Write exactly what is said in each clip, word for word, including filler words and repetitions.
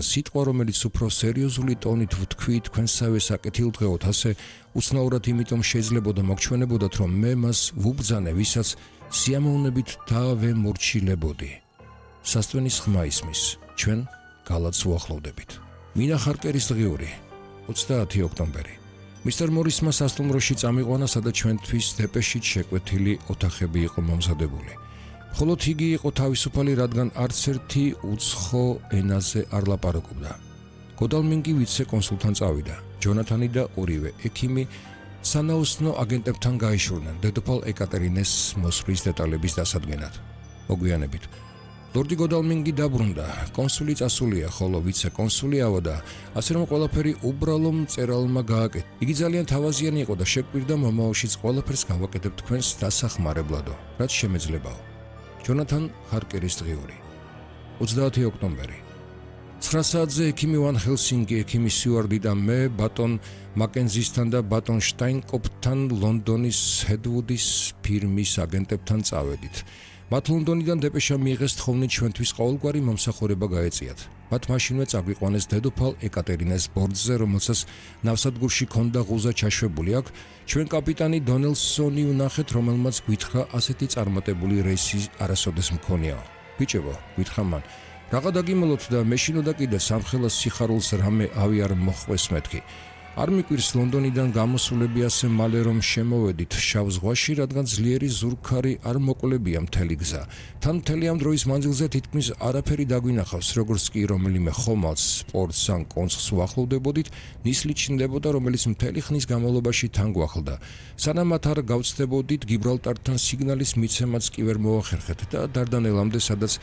სიტყვა, რომელიც უფრო სერიოზული ტონით ვთქვით თქვენსავე საკეთილდღეოდ, ასე უცნაურად იმიტომ შეიძლებოდა მოგჩვენებოდათ, რომ მე მას ვუბრძანე, ვისაც სიამოვნებით დავემორჩილებოდი. სასტვენის ხმა ისმის, ჩვენ გალათს უახლოვდებით. მინა ხარკერის დღიური, ოცდაათი ოქტომბერი. მისტერ მორისმა სასტუმროში წამიყვანა, სადაც ჩვენთვის დეპეშით შეკვეთილი ოთახები იყო მომზადებული. ხოლო იგი იყო თავისუფალი, რადგან არც ერთი უცხო ენაზე არ ლაპარაკობდა. გოდალმინგი ვიცე კონსულთან წავიდა. ჯონათანი და ორივე ექიმი სანაოსნო აგენტებთან გაიშურნენ დედოფალ ეკატერინეს მოსვლის დეტალების დასადგენად. მოგვიანებით ლორდი გოდალმინგი დაბრუნდა. კონსული წასულია, ხოლო ვიცე კონსული ავოდა, ასე რომ ყველაფერი უბრალო მწერალმა გააკეთა. იგი ძალიან თავაზიანი იყო და შეკვირდა მომავალშიც ყველაფერს გავაკეთებ თქვენს დასახმარებლადო, რაც შემეძლებაო. ჯონათან ხარკერის დღიური, ოცდაათი ოქტომბერი. ცხრა საათზე ექიმი ვან ჰელსინგი, ექიმი სიუარდი და მე ბატონ მაკენზისთან და ბატონ შტაინკოპთან ლონდონის ჰედვუდის ფირმის აგენტებთან წავედით. მათ ლონდონიდან დეპეშა მიიღეს თხოვნით ჩვენთვის ყოველგვარი მომსახურება გაეწიათ. მათ მაშინვე წაგვიყვანეს დედოფალ ეკატერინეს ბორცზე, რომელსაც ნავსადგურში ქონდა ღუზა ჩაშვებული. აქ ჩვენ კაპიტანი დონელსონი ვნახეთ, რომელმაც გვითხრა ასეთი წარმატებული რეისი არასოდეს მქონიაო. ბიჭებო, გვითხრა მან, რაღა დაგიმოლოთ და მეშინოდა კიდე სამხელას სიხარულს რამე ავი არ მოხვეს მეთქი. არ მიკვირს ლონდონიდან გამოსულები ასე მალე რომ შემოვედით შავ ზღვაში, რადგან ძლიერი ზურგქარი არ მოკლებია მთელი გზა. თან მთელი ამ დროის მანძილზე თითქმის არაფერი დაგვინახავს, როგორც კი რომელიმე ხომალდს, სპორტს ან კონცხს უახლოვდებოდით, ნისლი ჩნდებოდა, რომელიც მთელი ხნის განმავლობაში თან გვახლდა. სანამ მათ არ გავწდებოდით, გიბრალტართან სიგნალის მიცემაც კი ვერ მოახერხეთ და დარდანელამდე, სადაც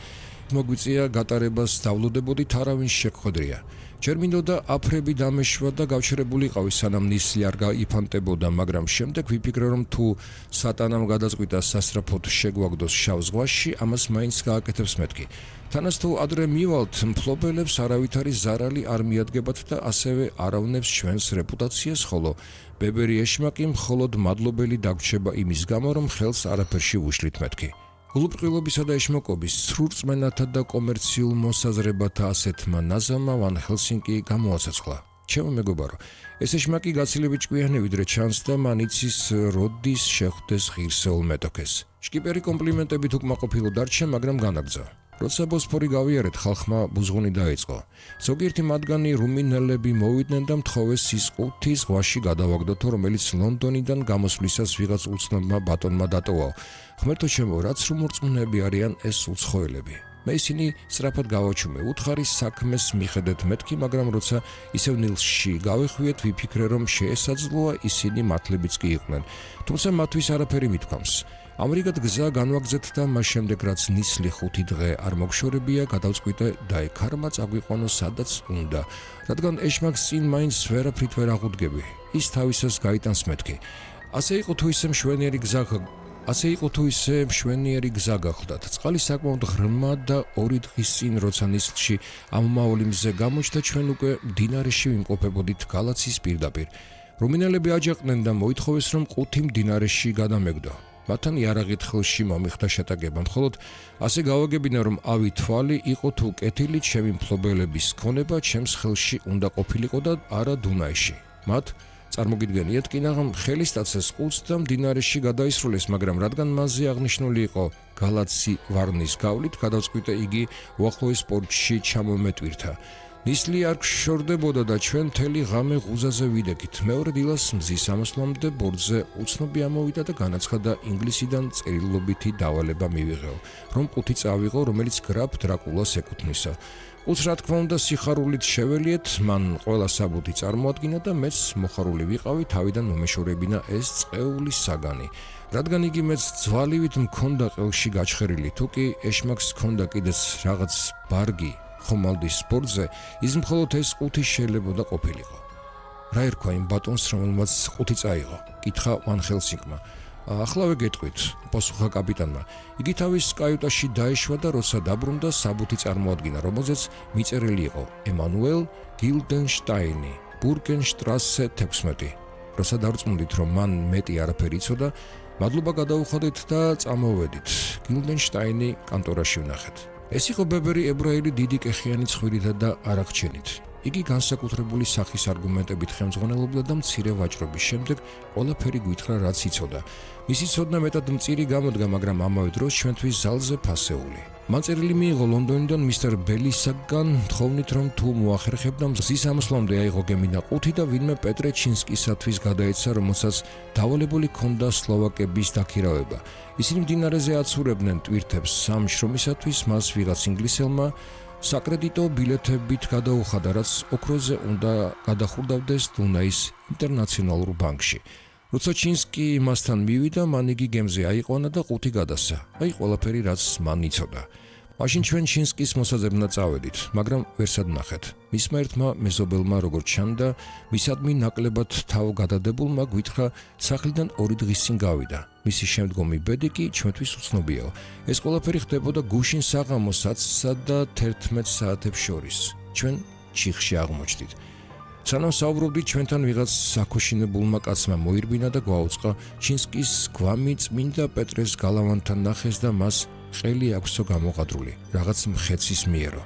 მოგვიწია გატარებას დავლოდებოდით, არავინ შეგხვედრია. ჯერ მინდოდა აფრები დამეშვა და გავჩერებულიყავი, სანამ ნისლი არ გაიფანტებოდა, მაგრამ შემდეგ ვიფიქრე, რომ თუ სატანამ გადაწყვიტა სასწრაფოდ შეგვაგდოს შავ ზღვაში, ამას მაინც გააკეთებს მეთქი. თანაც თუ ადრე მივალთ, მფლობელებს არავითარი ზარალი არ მიადგებათ და ასევე არავნებს ჩვენს რეპუტაციას, ხოლო ბებერი ეშმაკი მხოლოდ მადლობელი დაგვრჩება იმის გამო, რომ ხელს არაფერში უშლით მეთქი. გულუბრყვილობისა და ეშმაკობის სრურწმენათა და კომერციულ მოსაზრებათა ასეთმა ნაზამმა ვან ჰელსინგი გამოაცოცხლა. ჩემო მეგობარო, ეს ეშმაკი გაცილებით ჭკვიანი ვიდრე ჩანს და მან იცის როდის შეხვდეს ღირსეულ მეტოქეს. შკიპერი კომპლიმენტებით უკმაყოფილო დარჩა, მაგრამ განაგრძო. როცა ბოსფორი გავიარეთ, ხალხმა ბუზღუნი დაიწყო. ზოგიერთი მათგანი რუმინელები მოვიდნენ და მთხოვეს სისყუთი ზღვაში გადავაგდოთო, რომელიც ლონდონიდან გამოსვლისას ვიღაც უცნობმა ბატონმა დატოვა. ღმერთო ჩემო, რაც რუმორწმუნეები არიან ეს უცხოელები. მე ისინი სწრაფად გავაჩუმე, უთხარი საქმეს მიხედეთ მეთქი, მაგრამ როცა ისევ ნილსში გავეხვიეთ, ვიფიქრე, რომ შეესაძლოა ისინი მართლებიც კი იყვნენ. თუმცა მათთვის არაფერი მithქვამს. ამრიგად გზა განვაგზეთ და მას შემდეგ, რაც ნისლი ხუთი დღე არ მოგშორებია, გადავწყვიტე და ეკარმა წაგვიყვანო სადაც უნდა, რადგან ეშმაკს წინ მაინც ვერაფრით ვერ აღუდგები. ის თავისას გაიტანს მეთქი. ასე იყო თუ ისე მშვენიერი გზა ასე იყო თუ ისე მშვენიერი გზა გახლდათ. წყალი საკმაოდ ღრმა და ორი დღის წინ, როცა ნისლში ამომავალი მზე გამოჩნდა, ჩვენ უკვე მდინარეში ვიმყოფებოდით გალაცის პირდაპირ. რუმინელები აჯაყდნენ და მოითხოვეს, რომ ყუთი მდინარეში გადამეგდო. მათთან იარაღით ხელში მომიხდა შეტაკება, მხოლოდ ასე გავაგებინა, რომ ავი თვალი იყო თუ კეთილი, ჩემი მფლობელების ქონება ჩემს ხელში უნდა ყოფილიყო და არა დუნაიში. მათ წარმოგიდგენიათ, კინაღამ ხელისტაცეს ყუთს და მდინარეში გადაისრულეს, მაგრამ რადგან მასზე აღნიშნული იყო გალაცი ვარნის გავლით, გადავწყვიტე იგი უახლოეს პორტში ჩამომეტვირთა. ნისლი არ გშორდებოდა და ჩვენ მთელი ღამე ღუზაზე ვიდექით. მეორე დილას მზის ამოსვლამდე ბორცზე უცნობი ამოვიდა და განაცხადა ინგლისიდან წერილობითი დავალება მივიღეო, რომ ყუთი წავიღო, რომელიც გრაფ დრაკულას ეკუთვნისა. ყუთს რა თქმა უნდა სიხარულით შეველიეთ, მან ყველა საბუთი წარმოადგინა და მეც მოხარული ვიყავი თავიდან მომეშორებინა ეს წყეული საგანი. რადგან იგი მეც ძვალივით მქონდა ყელში გაჩხერილი, თუ კი ეშმაკს ჰქონდა კიდეც რაღაც ბარგი ხომალდის სპორტზე, ის მხოლოდ ეს ყუთი შეიძლება ყოფილიყო. რა ერქვა იმ ბატონს, რომელმაც ყუთი წაიღო? კითხა ვან ჰელსინგმა. ახლავე გეტყვით, პასუხა კაპიტანმა. იგი თავის კაიუტაში დაეშვა და როცა დაბრუნდა, საბუთი წარმოადგინა, რომელზეც მიწერილი იყო ემანუელ გილდენშტაინი, ბურგენშტრასე თექვსმეტი. როცა დავწმუნდით, რომ მან მეტი არაფერი იცოდა, მადლობა გადაუხადეთ და წამოვედით. გილდენშტაინი კანტორაში ვნახეთ. ეს იყო ბებერი ებრაელი დიდი კეხიანი ცხვირითა და არაღჩენით. იგი განსაკუთრებული სახის არგუმენტებით ხელმძღვანელობდა და მცირე ვაჭრობის შემდეგ ყველაფერი გვითხრა რაც იცოდა. მისი ცოდნა მეტად მწირი გამოდგა, მაგრამ ამავე დროს ჩვენთვის ზალზე ფასეული. მან წერილი მიიღო ლონდონიდან მისტერ ბელისაგან, თხოვნით რომ თუ მოახერხებდა მზის ამსვლამდე აიღო გემინა ყუთი და ვინმე პეტრე ჩინსკისათვის გადაეცა, რომელსაც დავალებული ჰქონდა სლოვაკების დაქირავება. ისინი მდინარეზე აცურებდნენ ტვირთებს სამ შრომისათვის, მას ვიღაც ინგლისელმა საკრედიტო ბილეთებით გადაუხადა, რაც ოქროზე უნდა გადახურდავდეს დუნაის ინტერნაციონალურ ბანკში. როცა ჩინსკი მასთან მივიდა, მან იგი გემზე აიყვანა და ყუთი გადასცა. აი ყველაფერი, რაც მან იცოდა. მაშინ ჩვენ ჩინსკის მოსაძებნად წავედით, მაგრამ ვერსად ნახეთ. მისმა ერთმა მეზობელმა როგორც ჩანდა, მისადმი ნაკლებად თავგადადებულმა გვითხრა სახლიდან ორი დღის წინ გავიდა. მისი შემდგომი ბედი კი ჩვენთვის უცნობიაო. ეს ყველაფერი ხდებოდა გუშინ საღამოს ათსა და თერთმეტ საათებს შორის. ჩვენ ჩიხში აღმოჩნდით. სანამ საუბრობდით, ჩვენთან ვიღაც საქოშინებულმა კაცმა მოირბინა და გვაუწყა ჩინსკის გვამი წმინდა პეტრეს გალავანთან ნახეს და მას ყელი აქვსო გამოყადრული, რაღაც მხეცის მიერო.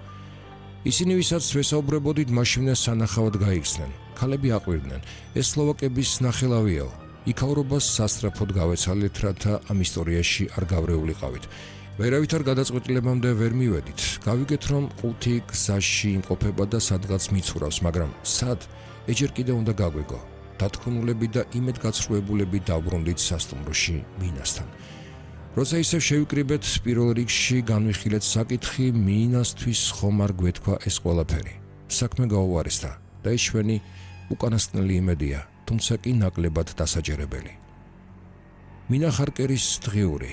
ისინი ვისაც ვესაუბრებოდით, მაშინვე სანახავად გაიხსნენ. ქალები აყვირდნენ. ეს სლოვაკების ნახელავიაო. იქაურობას სასწრაფოდ გავეცალეთ, რათა ამ ისტორიაში არ გავრეულიყავით. ვერავით არ გადაწყვეტილებამდე ვერ მივედით. გავიგეთ, რომ ყუთი გზაში იმყოფება და სადღაც მიცურავს, მაგრამ სად? ეჯერ კიდე უნდა გაგვიგო. დათქმულები და იმედგაცრუებულები დავბრუნდით სასტუმროში მინასთან. როცა ისევ შევიკრიბეთ, პირველ რიგში განვიხილეთ საკითხი, მინასთვის ხომ არ გვეთქვა ეს ყველაფერი. საქმე გაუარესდა და ეს ჩვენი უკანასკნელი იმედია, თუმცა კი ნაკლებად დასაჯერებელი. მინა ხარკერის დღიური,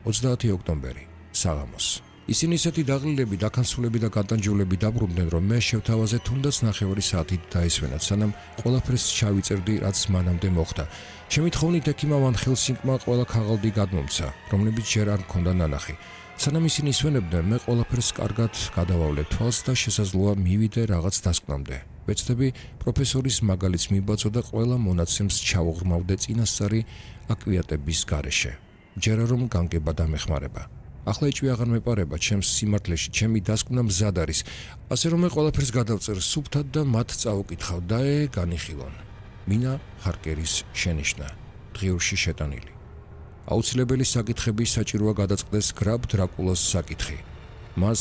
ოცდაათი ოქტომბერი, საღამოს. ისინი ისეთი დაღლილები, დაქანცულები და გადანჯულები დაბრუნდნენ, რომ მე შევთავაზე თუნდაც ნახევარი საათით დაესვენათ, სანამ ყველაფერს ჩავიწერდი, რაც მანამდე მოხდა. ჩემი თხოვნით ექიმა ვან ჰელსინგმა ყველა ქაღალდი გადმომცა, რომლებიც ჯერ არ მქონდა ნანახი. სანამ ისინი ისვენებდნენ, მე ყველაფერს კარგად გადავავლე თვალს და შესაძლოა მივიდე რაღაც დასკვნამდე. ვეცდები პროფესორის მაგალითს მიბაძო და ყველა მონაცემს ჩავუღრმავდე წინასწარი აკვიატების გარეშე. ჯერა რომ განგება დამეხმარება. ახლა ეჭვი აღარ მეპარება ჩემს სიმართლეში, ჩემი დასკვნა მზად არის, ასე რომ მე ყველაფერს გადავწერ სუფთად და მათ წაუკითხავ და ე განიხილონ. მინა ხარკერის შენიშვნა, დღიურში შეტანილი. აუცილებელი საკითხების საჭიროა გადაწყდეს გრაბ დრაკულას საკითხი. მას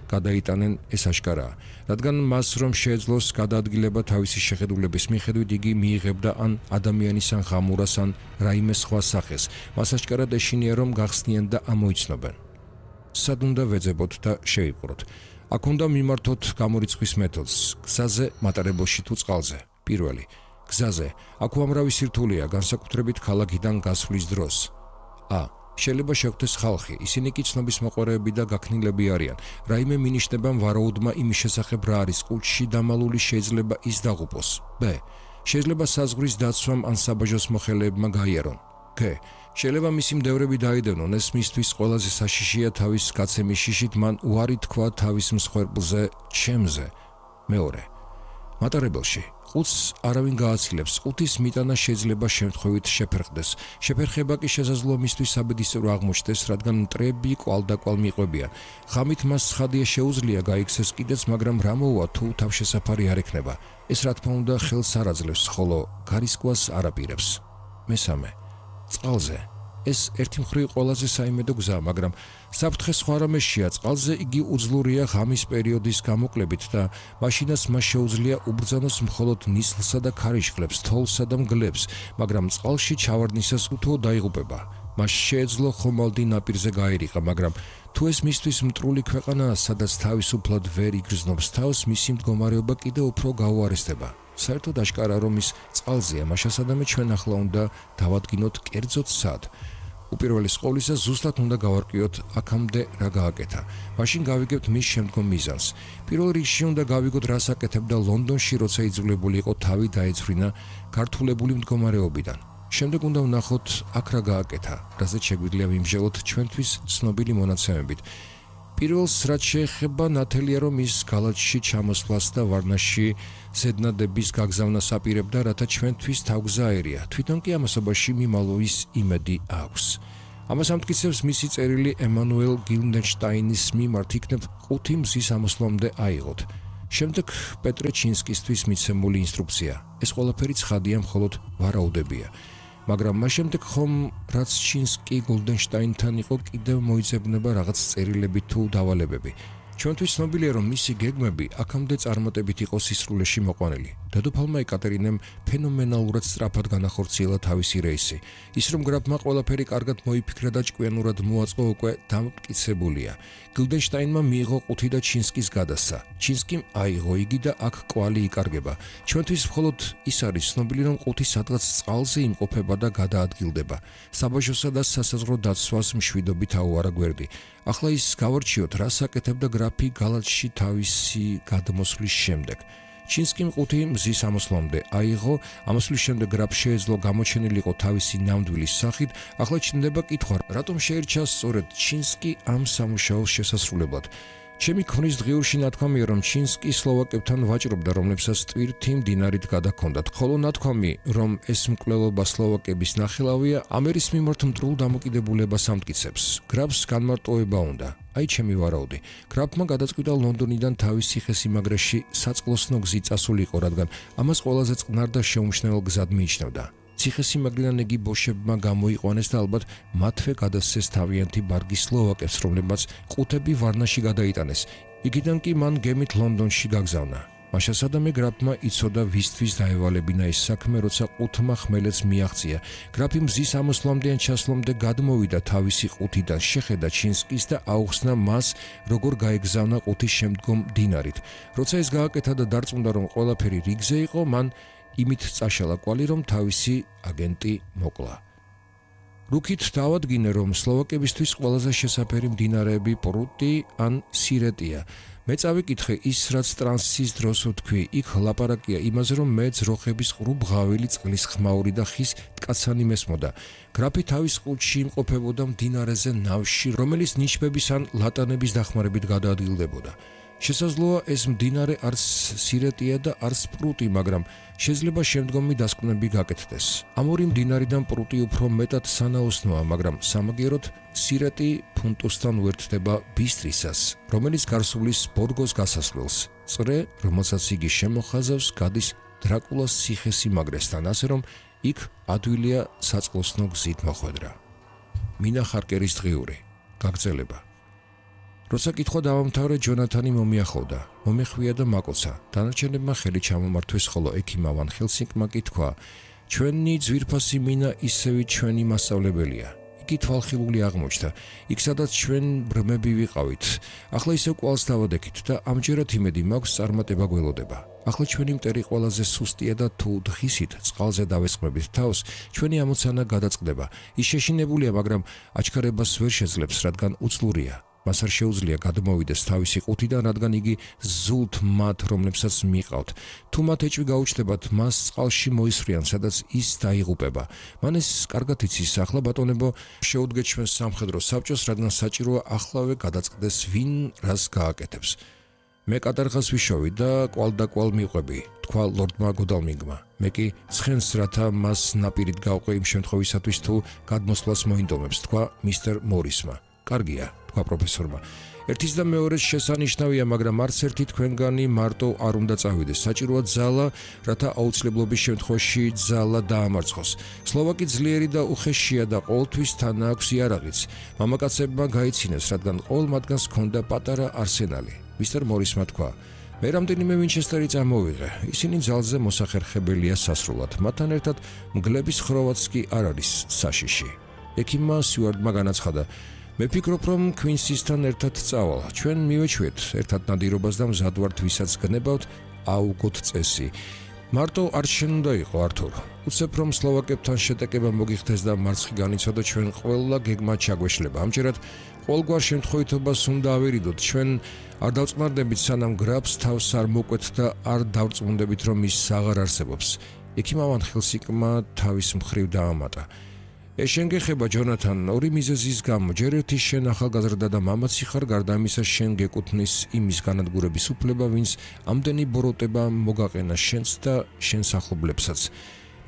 გადაიტანენ, ეს აშკარაა, რადგან მას რომ შეეძლოს გადაადგილება თავისი შეხედულების მიხედვით, იგი მიიღებდა ან ადამიანის ან ღამურას ან რაიმე სხვა სახეს. მას აშკარად ეშინია, რომ გახსნიან და ამოიცნობენ. სად უნდა ვეძებოთ და შევიპყროთ. აქ უნდა მიმართოთ გამორიცხვის მეთოდს, გზაზე, მატარებელში თუ წყალზე. პირველი, გზაზე. აქ უამრავი სირთულეა, განსაკუთრებით ქალაქიდან გასვლის დროს. ა. შეიძლება შეხვდეს ხალხი, ისინი კი ცნობის მოყვარეები და გაქნილები არიან. რაიმე მინიშნება ვარაუდმა იმის შესახებ რა არის ყუთში დამალული, შეიძლება ის დაღუპოს. ბ. შეიძლება საზღვრის დაცვამ ან საბაჟოს მოხელეებმა გაიარონ. გ. შეიძლება მისი მდევრები დაიდევნონ, ეს მისთვის ყველაზე საშიშია თავის გაცემის შიშით, მან უარი თქვა თავის მსხვერპლზე, ჩემზე. მეორე. მატარებელში. ყუთს არავინ გააცილებს, ყუთის მიტანა შეიძლება შემთხვევით შეფერხდეს. შეფერხება კი შესაძლოა მისთვის საბედისწერო აღმოჩნდეს, რადგან მტრები კვალდაკვალ მიყვებიან. ღამით მას ცხადია შეუძლია გაიქცეს კიდეც, მაგრამ რა მოუვა თუ თავშესაფარი არ ექნება. ეს რა თქმა უნდა ხელს არ აძლევს, ხოლო გარისკვას არ აპირებს. მესამე. წყალზე. ეს ერთი მხრივ ყველაზე საიმედო გზაა, მაგრამ საფრთხე სხვა რამეშია. წყალზე იგი უძლურია ღამის პერიოდის გამოკლებით და მაშინაც მას შეუძლია უბრძანოს მხოლოდ ნისლსა და ქარიშხლებს, თოვლსა და მგლებს, მაგრამ წყალში ჩავარდნისას უთუო დაიღუპება. მას შეეძლო ხომალდი ნაპირზე გაერიყა, მაგრამ თუ ეს მისთვის მტრული ქვეყანაა, სადაც თავისუფლად ვერ იგრძნობს თავს, მისი მდგომარეობა კიდევ უფრო გაუარესდება. საერთოდ აშკარაა, რომ ის წყალზეა, მაშასადამე ჩვენ ახლა უნდა დავადგინოთ კერძოდ სად. უპირველეს ყოვლისა ზუსტად უნდა გავარკვიოთ აქამდე რა გააკეთა. მაშინ გავიგებთ მის შემდგომ მიზანს. პირველ რიგში უნდა გავიგოთ რას აკეთებდა ლონდონში, როცა იძულებული იყო თავი დაეცვლინა გართულებული მდგომარეობიდან. შემდეგ უნდა ვნახოთ აქ რა გააკეთა, რაზეც შეგვიძლია ვიმსჯელოთ ჩვენთვის ცნობილი მონაცემებით. პირველს რაც შეეხება ნათელია, რომ ის გალათში ჩამოსვლას და ვარნაში ზედნადების გაგზავნას აპირებდა, რათა ჩვენთვის თავგზა აერია. თვითონ კი ამასობაში მიმალვის იმედი აქვს. ამას ამტკიცებს მისი წერილი ემანუელ გილდენშტაინის მიმართ იქნებ ხუთი მზის ამოსვლამდე აიღოთ. შემდეგ პეტრე ჩინსკისთვის მიცემული ინსტრუქცია. ეს ყველაფერი ცხადია, მხოლოდ ვარაუდებია. მაგრამ მას შემდეგ ხომ რაც ჩინსკი გილდენშტაინთან იყო კიდევ მოიძებნება რაღაც წერილები თუ დავალებები. ჩვენთვის ცნობილია, რომ მისი გეგმები აქამდე წარმატებით იყო სისრულეში მოყვანილი. დედოფალმა ეკატერინემ ფენომენალურად სწრაფად განახორციელა თავისი რეისი. ის რომ გრაფმა ყველაფერი კარგად მოიფიქრა და ჭკვიანურად მოაწყო უკვე დამტკიცებულია. გილდენშტაინმა მიიღო ყუთი და ჩინსკის გადასცა. ჩინსკიმ აიღო იგი და აქ კვალი იკარგება. ჩვენთვის მხოლოდ ის არის ცნობილი, რომ ყუთი სადღაც წყალზე იმყოფება და გადაადგილდება. საბაჟოსა და სასაზღვრო დაცვას მშვიდობით აუარა გვერდი. ახლა ის გავარჩიოთ, რას აკეთებდა გრაფი გალათში თავისი გადმოსვლის შემდეგ. ჩინსკიმ ყუთი მზის ამოსვლამდე აიღო, ამოსვლის შემდეგ გრაფ შეეძლო გამოჩენილიყო თავისი ნამდვილის სახით. ახლა ჩნდება კითხვა, რატომ შეირჩა სწორედ ჩინსკი ამ სამუშაოს შესასრულებლად. ჩემი ქმრის დღიურში ნათქვამია, რომ ჩინსკი სლოვაკებთან ვაჭრობდა, რომლებსაც ტვირთი მდინარით გადაჰქონდათ, ხოლო ნათქვამი, რომ ეს მკვლელობა სლოვაკების ნახელავია, ამერის მიმართ მტრულ დამოკიდებულებას ამტკიცებს. გრაფს განმარტოვება უნდა. აი ჩემი ვარაუდი. გრაფმა გადაწყვიტა ლონდონიდან თავის ციხესიმაგრეში საწყლოსნო გზით წასულიყო, რადგან ამას ყველაზე წყნარ და შეუმჩნეველ გზად მიიჩნევდა. ციხესიმაგრიდან იგი ბოშებმა გამოიყვანეს და ალბათ მათვე გადასცეს თავიანთი ბარგი სლოვაკებს, რომლებმაც ყუთები ვარნაში გადაიტანეს. იქიდან კი მან გემით ლონდონში გაგზავნა. მაშასადამე გრაფმა იცოდა ვისთვის დაევალებინა ეს საქმე, როცა ყუთმა ხმელეთს მიაღწია. გრაფი მზის ამოსვლამდე ან ჩასვლამდე გადმოვიდა თავისი ყუთიდან, შეხედა ჩინსკის და აუხსნა მას, როგორ გაეგზავნა ყუთის შემდგომ მდინარით. როცა ეს გააკეთა და დარწმუნდა, რომ ყველაფერი რიგზე იყო, მან იმით წაშალა კვალი, რომ თავისი აგენტი მოკლა. რუქით დავადგინე, რომ სლოვაკებისთვის ყველაზე შესაფერი მდინარეები პრუტი ან სირეტია. მე წავიკითხე ის, რაც ტრანსის დროს ვთქვი, იქ ლაპარაკია იმაზე, რომ მე ძროხების ყრუ ბღავილი წყლის ხმაური და ხის ტკაცანი მესმოდა. გრაფი თავის ყუთში იმყოფებოდა მდინარეზე ნავში, რომელიც ნიშბების ან ლატანების დახმარებით გადაადგილდებოდა. შესაძლოა ეს მდინარე არც სირეტია და არც პრუტი, მაგრამ შეიძლება შემდგომი დასკვნები გაკეთდეს. ამ ორი მდინარიდან პრუტი უფრო მეტად სანაოსნოა, მაგრამ სამაგიეროდ სირეტი ფუნტუსთან უერთდება ბისტრისას, რომელიც გარსულის ბორგოს გასასვლელს. წრე, რომელსაც იგი შემოხაზავს, გადის დრაკულას ციხესიმაგრესთან, ასე რომ იქ ადვილია საწყლოსნო გზით მოხვედრა. მინა ხარკერის დღიური. გაგრძელება. როცა კითხვა დავამთავრე, ჯონათანი მომიახლოვდა, მომეხვია და მაკოცა. დანარჩენებმა ხელი ჩამომართვეს, ხოლო ექიმა ვან ჰელსინგმა კითხვა, ჩვენი ძვირფასი მინა ისევი ჩვენი მასწავლებელია. იგი თვალხილული აღმოჩნდა, იქ სადაც ჩვენ ბრმები ვიყავით. ახლა ისევ კვალს დავადექით და ამჯერად იმედი მაქვს წარმატება გველოდება. ახლა ჩვენი მტერი ყველაზე სუსტია და თუ დღისით წყალზე დავესხმებით თავს, ჩვენი ამოცანა გადაწყდება. ის შეშინებულია, მაგრამ აჩქარებას ვერ შეძლებს, რადგან უძლურია. მას არ შეუძლია გადმოვიდეს თავისი ყუთიდან, რადგან იგი ზულთ მათ, რომლებსაც მიყავთ. თუ მათ ეჭვი გაუჩნდებათ, მას წყალში მოისვრიან, სადაც ის დაიღუპება. მან ეს კარგად იცის. ახლა ბატონებო, შეუდგეთ ჩვენს სამხედრო საბჭოს, რადგან საჭიროა ახლავე გადაწყდეს, ვინ რას გააკეთებს. მე კატარღას ვიშოვი და კვალ და კვალ მიყვები, თქვა ლორდმა გოდალმინგმა. მე კი ცხენს, რათა მას ნაპირით გავყვე იმ შემთხვევისათვის, თუ გადმოსვლას მოინდომებს, თქვა მისტერ მორისმა. კარგია, თქვა პროფესორმა. ერთის და მეორეს შესანიშნავია, მაგრამ არც ერთი თქვენგანი მარტო არ უნდა წავიდეს. საჭიროა ძალა, რათა აუცილებლობის შემთხვევაში ძალა დაამარცხოს. სლოვაკი ძლიერი და უხეშია და ყოველთვის თან აქვს იარაღიც. მამაკაცებმა გაიცინეს, რადგან ყოველ მათგანს ჰქონდა პატარა არსენალი. მისტერ მორისმა თქვა, მე რამდენიმე ვინჩესტერი წამოვიღე. ისინი ძალზე მოსახერხებელია სასრულად. მათთან ერთად მგლების ხროვაც კი არ არის საშიში. ექიმმა სიუარტმა განაცხადა, მე ფიქრობ, რომ ქვინსისთან ერთად წავალ. ჩვენ მივეჩვეთ ერთად ნადირობას და მზად ვართ, ვისაც გნებავთ, აუგოთ წესი. მარტო არ შენ უნდა იყო, ართურ. უცებ რომ სლოვაკებთან შეტაკება მოგიხდეს და მარცხი განიცოდო, ჩვენ ყველა გეგმა ჩაგვეშლება. ამჯერად ყოველგვარ შემთხვევითობას უნდა ავერიდოთ. ჩვენ არ დავწყნარდებით, სანამ გრაფს თავს არ მოკვეთ და არ დავწმუნდებით, რომ ის აღარ არსებობს. ექიმა ვან ჰელსინგმა თავის მხრივ დაამატა. ეს შენ გეხება, ჯონათან, ორი მიზეზის გამო. ჯერ ერთი შენ ახალგაზრდა და მამაცი ხარ, გარდა ამისა შენ გეკუთვნის იმის განადგურების უფლება, ვინც ამდენი ბოროტება მოგაყენა შენს და შენს ახლობლებსაც.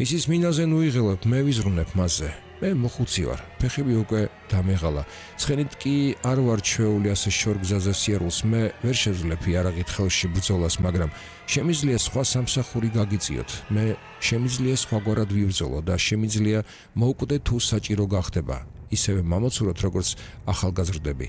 ისის მინაზე ნუიღელებ, მე ვიზრუნებ მასზე. მე მოხუცი ვარ, ფეხები უკვე დამეღალა. ცხენით კი არ ვარ ჩვეული ასე შორგზაზე სიარულს, მე ვერ შეძლებ იარაღით ხელში ბრძოლას, მაგრამ შემიძლია სხვა სამსახური გაგიწიოთ. მე შემიძლია სხვაგვარად ვიბრძოლო და შემიძლია მოვკვდე თუ საჭირო გახდება. ისევე მამაცურად როგორც ახალგაზრდები.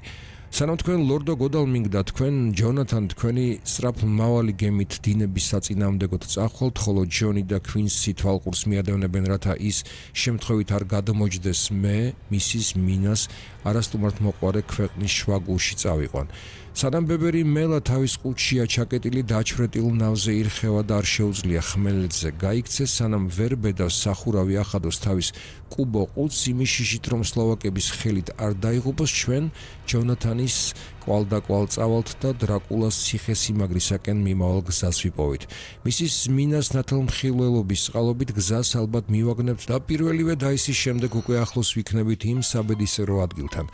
სანამ თქვენ ლორდო გოდალმინგ და თქვენ ჯონათან თქვენი სწრაფმავალი გემით დინების საწინააღმდეგოდ წახვალთ, ხოლო ჯონი და ქვინსი თვალყურს მიადევნებენ, რათა ის შემთხვევით არ გადმოჯდეს, მე მისის მინას არასტუმართ მოყვარე ქვეყნის შუაგულში წავიყვან. სანამ ბებერი მელა თავის ყუთშია ჩაკეტილი დაჩვრეტილ ნავზე ირხევა და არ შეუძლია ხმელეთზე გაიქცეს, სანამ ვერ ბედავს სახურავი ახადოს თავის კუბო ყუთს, იმიშიშით რომ სლოვაკების ხელით არ დაიღუპოს, ჩვენ ჯონათანის კვალდაკვალ წავალთ და დრაკულას ციხესიმაგრისაკენ მიმავალ გზას ვიპოვით. მისის მინას ნათელმხილველობის წყალობით გზას ალბათ მივაგნებთ და პირველივე დაისის შემდეგ უკვე ახლოს ვიქნებით იმ საბედისერო ადგილთან.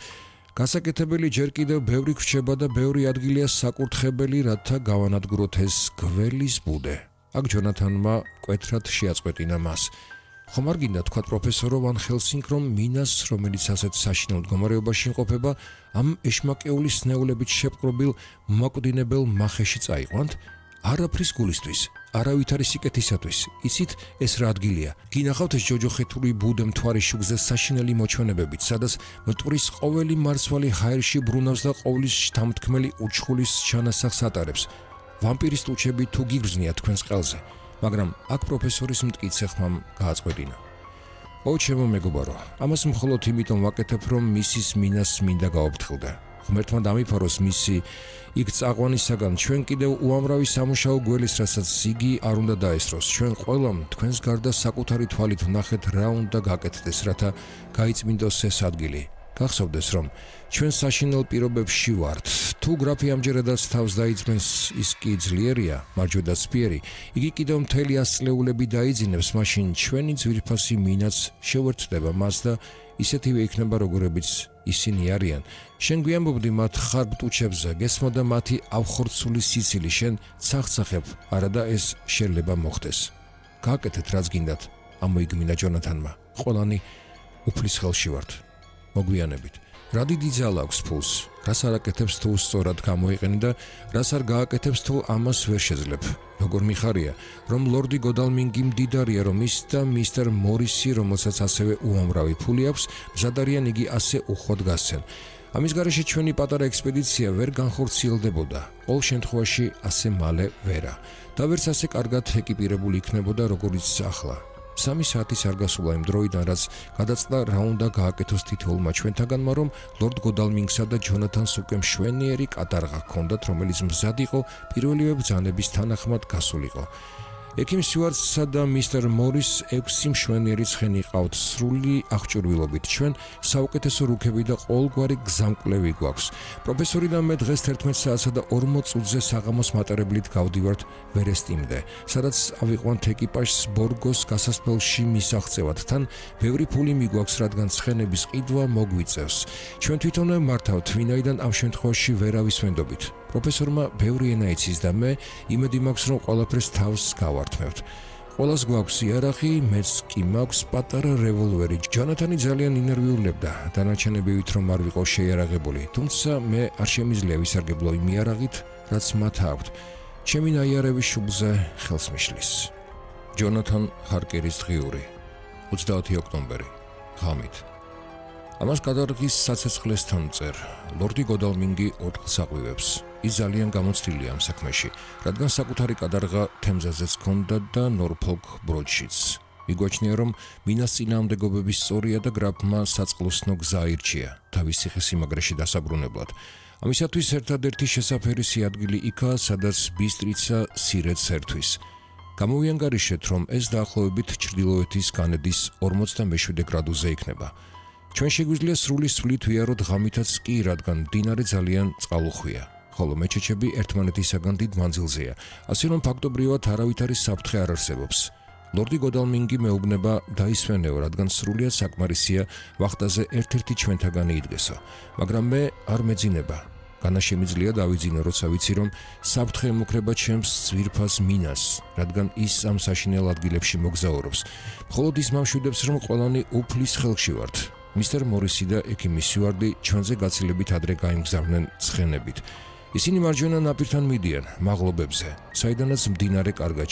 გასაკეთებელი ჯერ კიდევ ბევრი ხრჩება და ბევრი ადგილია საკურთხებელი, რათა გავანადგუროთ ეს გველის ბუდე. აქ ჯონათანმა მკვეთრად შეაწყვეტინა მას. ხომ არ გინდა თქვა პროფესორო ვან ჰელსინგ, რომ მინას, რომელიც ასეთ საშინელ მდგომარეობაში იმყოფება, ამ ეშმაკეული სნეულებით შეპყრობილ მოკვდინებელ მახეში წაიყვანთ? არაფრის გულისთვის, არავითარი სიკეთისათვის. იცით ეს რა ადგილია? გინახავთ ეს ჯოჯოხეთური ბუდე მთვარის შუქზე საშინელი მოჩვენებებით, სადაც მტვრის ყოველი მარცვალი ჰაერში ბრუნავს და ყოვლის შთამთქმელი უჩხულის ჩანასახს ატარებს. ვამპირის ტუჩები თუ გიგრძნია თქვენს ყელზე, მაგრამ აქ პროფესორის მტკიცე ხმამ გააწყვეტინა. ო ჩემო მეგობარო, ამას მხოლოდ იმიტომ ვაკეთებ, რომ მისის მინას მინდა გაოფრთხილდე. ღმერთმა დამიფაროს მისი იქ წაყვანისაგან, ჩვენ კიდევ უამრავი სამუშაო გველის, რასაც იგი არ უნდა დაესწროს. ჩვენ ყველამ თქვენს გარდა საკუთარი თვალით ვნახეთ რა უნდა გაკეთდეს, რათა გაიწმინდოს ეს ადგილი. გახსოვდეს, რომ ჩვენ საშინელ პირობებში ვართ. თუ გრაფი ამჯერადაც თავს დაიძმენს, ის კი ძლიერია, მარჯვედაცფიერი, იგი კიდევ მთელი ასწლეულები დაიძინებს, მაშინ ჩვენი ძვირფასი მინაც შევერთდება მას და ისეთივე იქნება, როგორებიც ისინი არიან. შენ გვიამბობდი მათ ხარბტუჩებზე, გესმოდა მათი ავხორცული სიცილი, შენ ცახცახებ, არადა ეს შეიძლება მოხდეს. გააკეთეთ რაც გინდათ, ამოიგმინა ჯონათანმა. ყველანი უფლის ხელში ვართ. მოგვიანებით. რა დიდი ძალა აქვს ფულს, რას არ აკეთებს თუ სწორად გამოიყენე და რას არ გააკეთებს თუ ამას ვერ შეძლებ. როგორ მიხარია, რომ ლორდი გოდალმინგი მდიდარია, რომ ის და მისტერ მორისი, რომელსაც ასევე უამრავი ფული აქვს, მზად არიან იგი ასე უხვად გასცენ. ამის გარეშე ჩვენი პატარა ექსპედიცია ვერ განხორციელდებოდა, ყოველ შემთხვევაში ასე მალე ვერა და ვერც ასე კარგად ეკიპირებული იქნებოდა, როგორიც ახლა. სამი საათის არ გასულა იმ დროიდან, რაც გადაწყდა რა უნდა გააკეთოს თითოეულმა ჩვენთაგანმა, რომ ლორდ გოდალმინგსა და ჯონათანს უკვე მშვენიერი კატარღა ჰქონდათ, რომელიც მზად იყო პირველივე ბრძანების თანახმად გასულიყო. ექიმ სტიუარტსა და მისტერ მორის ექვსი მშვენიერი ცხენი ყავთ სრული აღჭურვილობით. ჩვენ საუკეთესო რუქები და ყოველგვარი გზამკვლევი გვაქვს. პროფესორი და მე დღეს თერთმეტ საათსა და ორმოც წუთზე საღამოს მატარებლით გავდივართ ვერესტიმდე, სადაც ავიყვანთ ეკიპაჟს ბორგოს გასასვლელში მისაღწევად. თან ბევრი ფული მიგვაქვს, რადგან ცხენების ყიდვა მოგვიწევს. ჩვენ თვითონვე მართავთ, ვინაიდან ამ შემთხვევაში ვერავის ვენდობით. პროფესორმა ბევრი ენა იცის და მე იმედი მაქვს, რომ ყველაფერს თავს გავართმევთ. ყველას გვაქვს იარაღი, მეც კი მაქვს პატარა რევოლვერი. ჯონათანი ძალიან ინერვიულებდა, დანარჩენებივით რომ არ ვიყო შეიარაღებული, თუმცა მე არ შემიძლია ვისარგებლო იმ იარაღით, რაც მათ აქვთ. ჩემი ნაიარევი შუბლზე ხელს მიშლის. ჯონათან ჰარკერის დღიური, ოცდაათი ოქტომბერი, ღამით. ამას კატარღის საცეცხლესთან წერ, ლორდი გოდალმინგი ოთხს აყვივებს. ის ძალიან გამოცდილია ამ საქმეში, რადგან საკუთარი კატარღა თემზაზეც ჰქონდა და ნორფოლკ ბროდშიც. მიგვაჩნია, რომ მინას წინააღმდეგობების სწორია და გრაფმა საწყლოსნო გზა აირჩია თავის ციხესიმაგრეში დასაბრუნებლად. ამისათვის ერთადერთი შესაფერისი ადგილი იქაა, სადაც ბისტრიცა სირეთს ერთვის. გამოვიანგარიშეთ, რომ ეს დაახლოებით ჩრდილოეთის განედის ორმოცდამეშვიდე გრადუსზე იქნება. ჩვენ შეგვიძლია სრული სვლით ვიაროთ ღამითაც კი, რადგან მდინარე ძალიან წყალუხვია, ხოლო მეჩეჩები ერთმანეთისაგან დიდ მანძილზეა, ასე რომ ფაქტობრივად არავითარი საფრთხე არ არსებობს. ლორდი გოდალმინგი მეუბნება დაისვენეო, რადგან სრულიად საკმარისია ვახტაზე ერთ-ერთი ჩვენთაგანი იდგესო, მაგრამ მე არ მეძინება. განა შემიძლია დავიძინო, როცა ვიცი, რომ საფრთხე ემუქრება ჩემს ძვირფას მინას, რადგან ის ამ საშინელ ადგილებში მოგზაურობს. მხოლოდ ის მამშვიდებს, რომ ყველანი უფლის ხელში ვართ. მისტერ მორისი და ექიმი სიუარდი ჩვენზე გაცილებით ადრე გაიმგზავრნენ ცხენებით. ისინი მარჯვენა ნაპირთან მიდიან, მაღლობებზე, საიდანაც მდინარე კარგად